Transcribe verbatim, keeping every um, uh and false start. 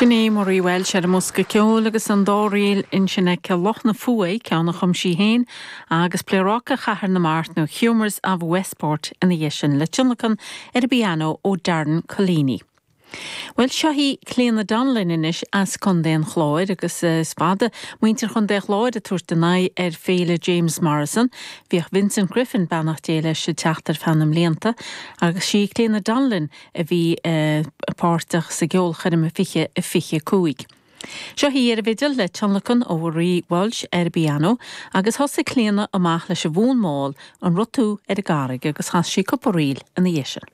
Sin í Marie Walsh ar an mbosca ceoil agus an dá ríl ansin aici Loch na Fuaidh ceann a chum sí féin agus Pléaráca Chathair na Mart nó Humours of Westport ina dhiaidh sin le tionlacan ar an bpianó ó Darren Collini. Well seo í Clíona Donnellan anois as Contae an Chláir agus is fada muintir Chontae an Chláir ag tabhairt a n-aghaidh ar féile James Morrison, Bhíodh Vincent Griffin beannacht Dé leis ag teacht ar feadh na mblianta agus sí Clíona Donnellan a bhí uh, páirteach sa gceolchoirm fiche a fiche cúig. Seo í ar an bhfidil le tionlacan ó Marie Walsh ar an bpianó agus thosaigh Clíona amach leis an bhfonn mall an rud tú ar an gcarraig agus chas sí cúpla ríl ina dhiaidh sin.